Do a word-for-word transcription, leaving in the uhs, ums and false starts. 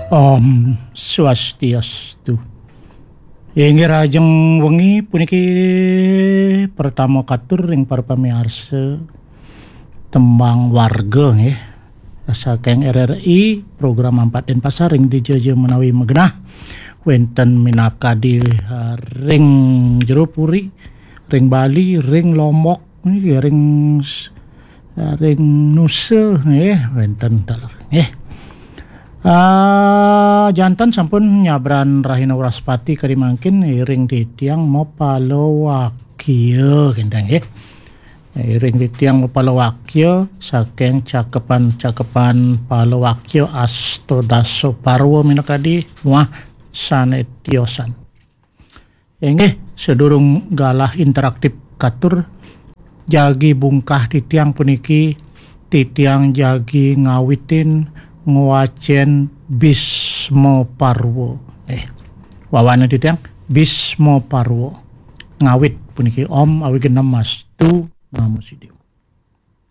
Om Swastiastu. Inggih, rahajeng wengi puniki pertama katur ring para pamiarsa Tembang Warga, nggih. Saking R R I, program Ampat Denpasar ring dija-dija menawi magenah. Wenten minakadi, eh, ring jero puri, ring Bali, ring Lombok, nggih, ring s-, eh, ring Nusa, nggih, wenten taler, nggih. Ah, janten sampun nyabran rahina Wraspati kadi mangkin, iring titiang mapalawakya, kénten, nggih. Iring titiang mapalawakya saking cakepan-cakepan palawakya Astadasa Parwa minakadi muah sané tiosan. Inggih, sadurung galah interaktif katur, jagi bungkah titiang puniki, titiang jagi ngawitin ngwacén Bisma Parwa. Eh, wawané titiang Bisma Parwa. Ngawit puniki Om Awighnam Astu Namo Siddham.